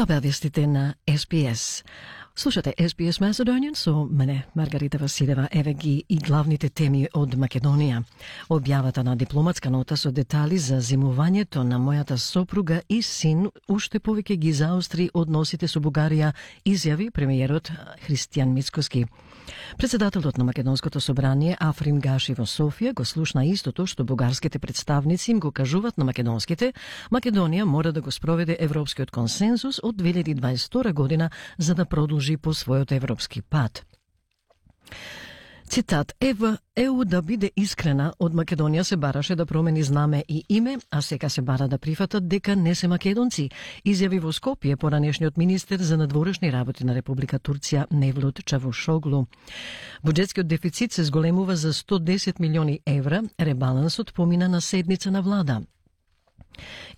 Тоа беа вестите на SBS. Слушате SBS Macedonian со мене, Маргарита Василева. Еве ги и главните теми од Македонија. Објавата на дипломатска нота со детали за зимувањето на мојата сопруга и син уште повеќе ги заостри односите со Бугарија, изјави премиерот Христијан Мицкоски. Председателот на Македонското собрание Африм Гаши во Софија го слушна истото што бугарските представници им го кажуваат на македонските. Македонија мора да го спроведе европскиот консензус од 2022 година за да продолжи по својот европски пат. Цитат: ЕУ да биде искрена, од Македонија се бараше да промени знаме и име, а сега се бара да прифатат дека не се македонци, изјави во Скопје поранешниот министер за надворешни работи на Република Турција Невлут Чавушоглу. Буџетскиот дефицит се зголемува за 110 милиони евра, ребалансот помина на седница на влада.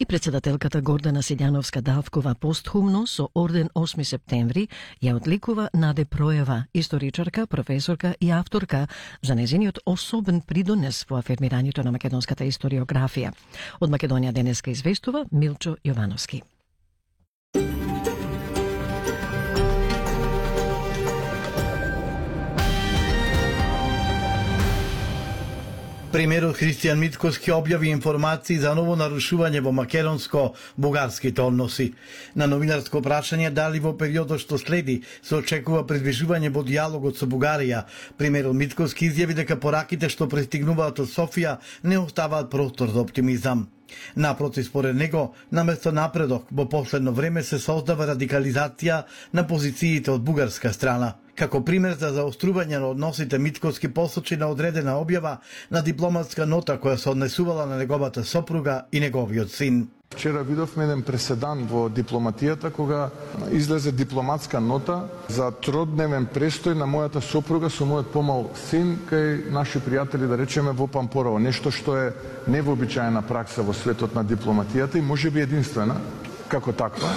И председателката Гордана Силјановска-Давкова постхумно со орден 8 септември ја одликува Наде Проева, историчарка, професорка и авторка, за незиниот особен придонес во афирмирањето на македонската историографија. Од Македонија денеска известува Милчо Јовановски. Премиерот Христијан Мицкоски објави информации за ново нарушување во македонско-бугарските односи. На новинарско прашање дали во периодот што следи се очекува придвижување во диалогот со Бугарија, премиерот Мицкоски изјави дека пораките што пристигнуваат од Софија не оставаат простор за оптимизам. Напротив, според него, наместо напредок, во последно време се создава радикализација на позициите од бугарска страна. Како пример за заострување на односите, Мицкоски посочи на одредена објава на дипломатска нота која се однесувала на неговата сопруга и неговиот син. Вчера видовме еден преседан во дипломатијата кога излезе дипломатска нота за тродневен престој на мојата сопруга со мојот помал син кај наши пријатели, да речеме, во Пампорово. Нешто што е невообичаена пракса во светот на дипломатијата и можеби единствена како таква.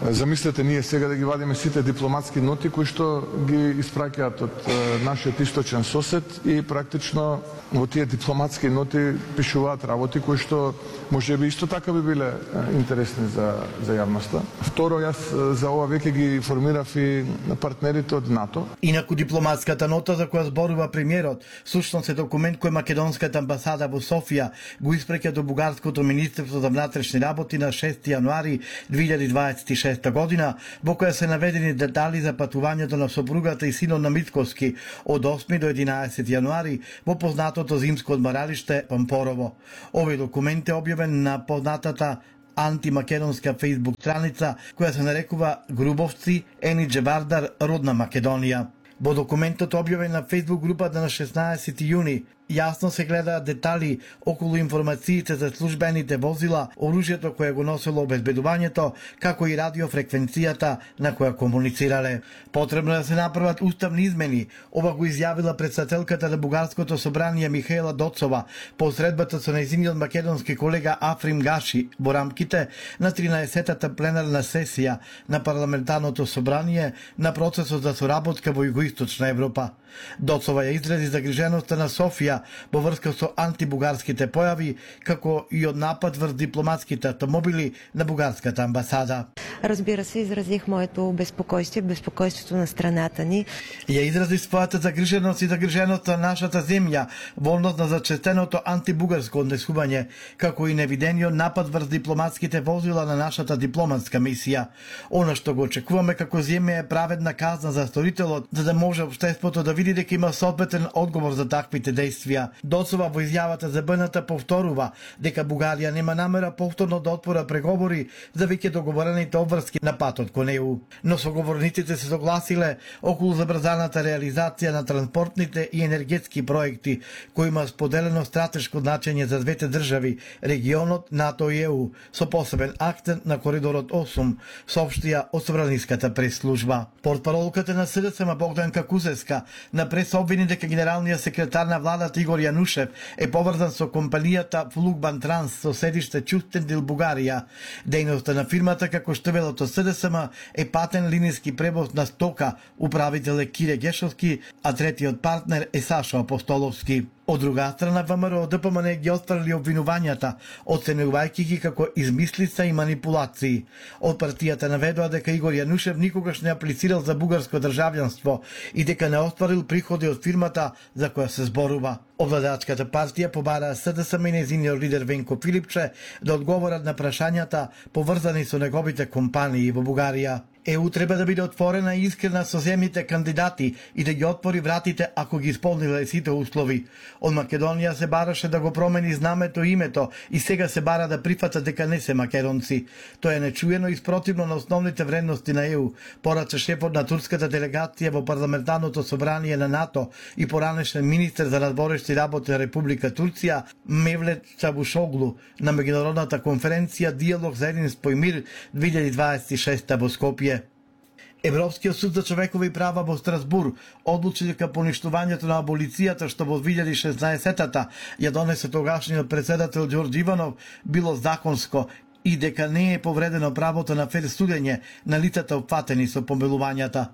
Замислете ние сега да ги вадиме сите дипломатски ноти кои што ги испраќаат од нашиот источен сосед и практично во тие дипломатски ноти пишуваат работи кои што можеби исто така би биле интересни за јавноста. Второ, јас за ова веќе ги информирав и партнерите од НАТО. Инаку дипломатската нота за која зборува премиерот, всушност е документ кој македонската амбасада во Софија го испраќа до бугарското министерство за внатрешни работи на 6 јануари 2026 година, во која се наведени детали за патувањето на сопругата и синот на Мицкоски од 8 до 11 јануари во познатото зимско одмаралиште Пампорово. Овој документ е објавен на познатата антимакедонска фејсбук страница која се нарекува Грубовци Енидже Вардар Родна Македонија. Во документот објавен на фејсбук групата на 16 јуни јасно се гледаат детали околу информациите за службените возила, оружјето кое го носело обезбедувањето, како и радиофреквенцијата на која комуницирале. Потребно да се направат уставни измени, ова го изјавила председателката на Бугарското собрание Михаела Доцова по средбата со нејзиниот македонски колега Африм Гаши во рамките на 13-та пленарна сесија на парламентарното собрание на процесот за соработка во Југоисточна Европа. Доцова ја изрази загриженоста на Софија во врска со антибугарските појави, како и од напад врз дипломатските автомобили на бугарската амбасада. Разбира се, изразих моето безпокойство, безпокойството на страната ни. Ја изрази својата загриженост и загриженоста на нашата земја во однос на зачестеното антибугарско однесување, како и невидениот напад врз дипломатските возила на нашата дипломатска мисија. Она што го очекуваме како земја е праведна казна за сторителот, за да може општеството да види дека има соодветен одговор за таквите действија. Доцова во изјавата за БНТ повторува дека Бугарија нема намера повторно да отвора преговори за веќе договорените обврски на патот кон ЕУ. Но соговорниците се согласиле околу забрзаната реализација на транспортните и енергетски проекти кои има споделено стратешко значење за двете држави, регионот, НАТО и ЕУ, со посебен акцент на коридорот 8, соопштија од собраниската прес-служба. Портпаролката на СДСМ Богданка Кузеска на прес обвини дека генералниот секретар на владата Игор Јанушев е поврзан со компанијата Флугбан Транс со седиште Чустендил, Бугарија. Дејноста на фирмата, како што велото СДСМ, е патен линиски превоз на стока. Управител е Кире Гешовски, а третиот партнер е Сашо Апостоловски. Од друга страна, ВМРО ДПМН ги отфрли обвинувањата, оценувајќи ги како измислица и манипулации. Од партијата наведоа дека Игор Јанушев никогаш не аплицирал за бугарско државјанство и дека не остварил приходи од фирмата за која се зборува. Овладачката партија побара СДСМ и нејзиниот лидер Венко Филипче да одговорат на прашањата поврзани со неговите компании во Бугарија. ЕУ треба да биде отворена и искрена со земјите кандидати и да ги отвори вратите ако ги исполниле сите услови. Од Македонија се бараше да го промени знамето и името и сега се бара да прифата дека не се македонци. Тоа е нечуено и спротивно на основните вредности на ЕУ, порача шефот на турската делегација во парламентарното собрание на НАТО и поранешен министер за надворешни работи на Република Турција Мевлет Чавушоглу на меѓународната конференција Диалог за единство и мир 2026 во Скопје. Европскиот суд за човекови права во Страсбур одлучи дека поништувањето на аболицијата што во 2016-та ја донесе тогашниот председател Ѓорѓ Иванов било законско и дека не е повредено правото на фер судење на лицата опфатени со помилувањата.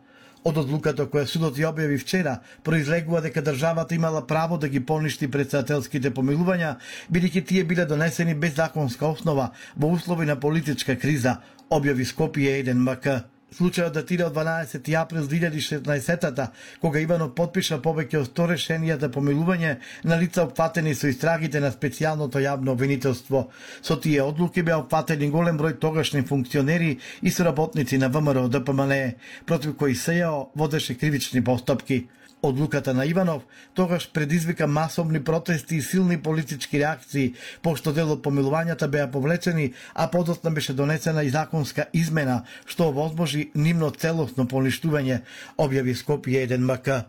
Од одлуката која судот ја објави вчера, произлегува дека државата имала право да ги поништи председателските помилувања, бидејќи тие биле донесени без законска основа во услови на политичка криза, објави Скопје 1 МК. Случајот датира од 12 април 2016-та, кога Иванов потпиша повеќе од 100 решенија за помилување на лица опфатени со истрагите на специјалното јавно обвинителство. Со тие одлуки беа опфатени голем број тогашни функционери и соработници на ВМРО ДПМН, против кои СЈО водеше кривични постапки. Одлуката на Иванов тогаш предизвика масовни протести и силни политички реакции, пошто дел од помилувањата беа повлечени, а подоцна беше донесена и законска измена, што овозможи нивно целосно поништување, објави Скопје 1 МК.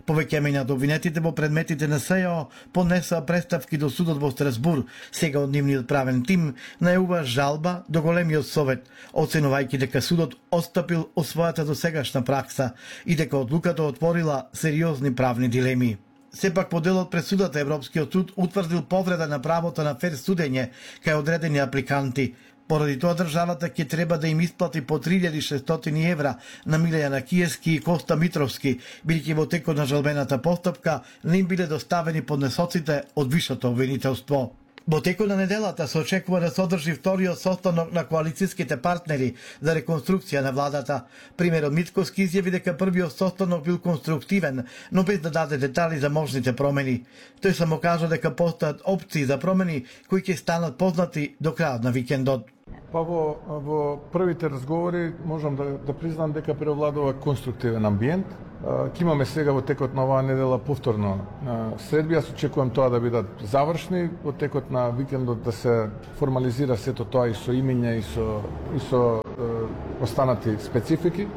Повеќе од обвинетите во предметите на СЈО поднесоа представки до судот во Страсбур. Сега од нивниот правен тим најува жалба до големиот совет, оценувајќи дека судот отстапил од својата досегашна пракса и дека одлуката отворила сериозни правни дилеми. Сепак по делот пресудата Европскиот суд утврдил повреда на правото на фер судење кај одредени апликанти. Поради тоа државата ќе треба да им исплати по 3600 евра на Милејана Киевски и Коста Митровски, бидејќи во текот на жалбената постапка не им биле доставени поднесоците од висшето обвинителство. Во текот на неделата се очекува да се одржи вториот состанок на коалицијските партнери за реконструкција на владата. Примерот Мицковски изјави дека првиот состанок бил конструктивен, но без да даде детали за можните промени. Тој само кажа дека постојат опции за промени кои ќе станат познати до крајот на викендот. Па во првите разговори можам да признам дека преовладува конструктивен амбиент. Ќе имаме сега во текот на оваа недела повторно средби. Јас очекувам тоа да бидат завршни, во текот на викендот да се формализира сето тоа и со имиња и со останати специфики.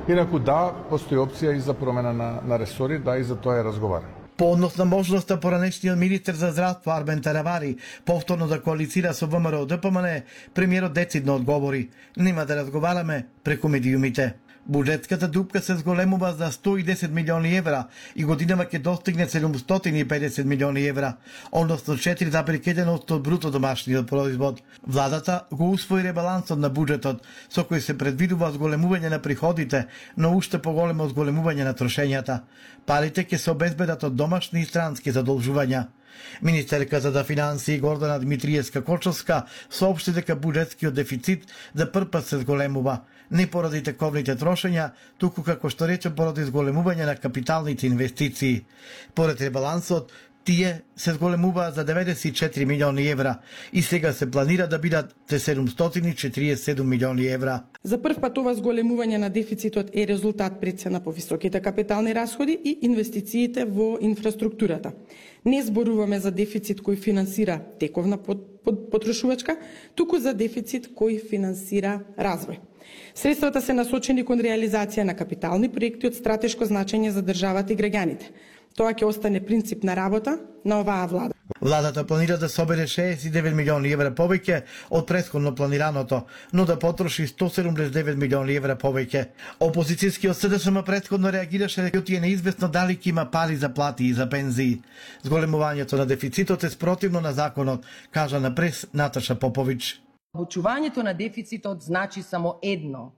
Инаку да, постои опција и за промена на ресори, да, и за тоа е разговарано. По однос на можноста поранешниот министер за здравство Армен Таравари повторно да коалицира со ВМРО ДПМН, премиерот децидно одговори: нема да разговараме преку медиумите. Буџетската дупка се зголемува за 110 милиони евра и годинава ќе достигне 750 милиони евра, односно 4,1% од бруто домашниот производ. Владата го усвои ребалансот на буџетот, со кој се предвидува зголемување на приходите, но уште поголемо зголемување на трошењата. Парите ќе се обезбедат од домашни и странски задолжувања. Министерката за финансии Гордана Дмитриевска-Кочовска соопшти дека буџетскиот дефицит за прв пат се зголемува, не поради тековните трошења, туку како што рече поради зголемување на капиталните инвестиции. Поред ребалансот, тие се зголемуваат за 94 милиони евра и сега се планира да бидат 747 милиони евра. За прв пат ова зголемување на дефицитот е резултат пред се на повисоките капитални расходи и инвестициите во инфраструктурата. Не зборуваме за дефицит кој финансира тековна потрошувачка, туку за дефицит кој финансира развој. Средствата се насочени кон реализација на капитални проекти од стратешко значење за државата и граѓаните. Тоа ќе остане принцип на работа на оваа влада. Владата планира да собере 69 милиони евра повеќе од претходно планираното, но да потроши 179 милиони евра повеќе. Опозицијскиот СДСМ претходно реагираше дека е неизвестно дали ќе има пари за плати и за пензии. Зголемувањето на дефицитот е спротивно на законот, кажа на прес Наташа Попович. Обучувањето на дефицитот значи само едно: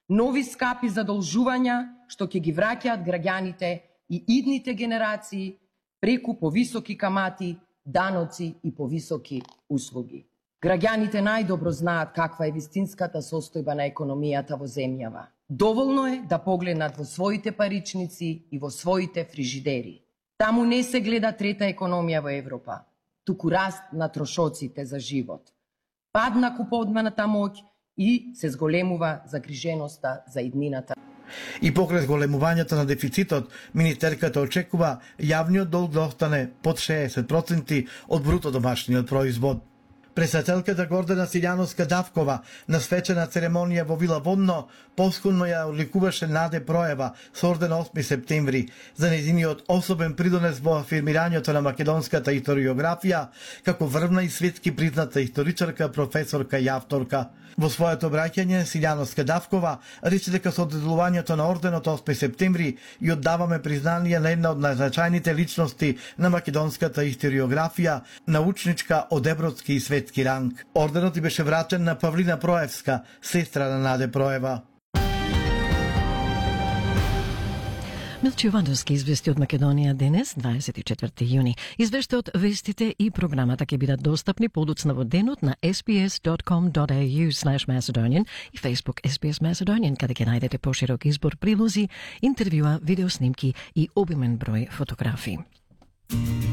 нови скапи задолжувања што ќе ги враќаат граѓаните и идните генерации преку повисоки камати, даноци и повисоки услуги. Граѓаните најдобро знаат каква е вистинската состојба на економијата во земјава. Доволно е да погледнат во своите паричници и во своите фрижидери. Таму не се гледа трета економија во Европа, туку раст на трошоците за живот. Пад на куповната моќ и се зголемува загриженоста за иднината. И покрај зголемувањето на дефицитот, министерката очекува јавниот долг да остане под 60% од бруто домашниот производ. Председателката Гордана Силјановска-Давкова на свечена церемонија во Вила Водно поскурно ја одликуваше Наде Проева со орден 8 септември за нејзиниот особен придонес во афирмирањето на македонската историографија како врвна и светски призната историчарка, професорка и авторка. Во своето обраќање Силјановска-Давкова рече дека со доделувањето на орденот 8 септември и оддаваме признание на една од најзначајните личности на македонската историографија, научничка од европски и светски ранг. Орденот и беше вратен на Павлина Проевска, сестра на Наде Проева. Милче Јовановски извести од Македонија денес, 24 јуни. Извештаот, вестите и програмата ќе бидат достапни подоцна во денот на sbs.com.au/Macedonian и Facebook SBS Macedonian, каде ќе најдете поширок избор прилози, интервјуа, видеоснимки и обимен број фотографии.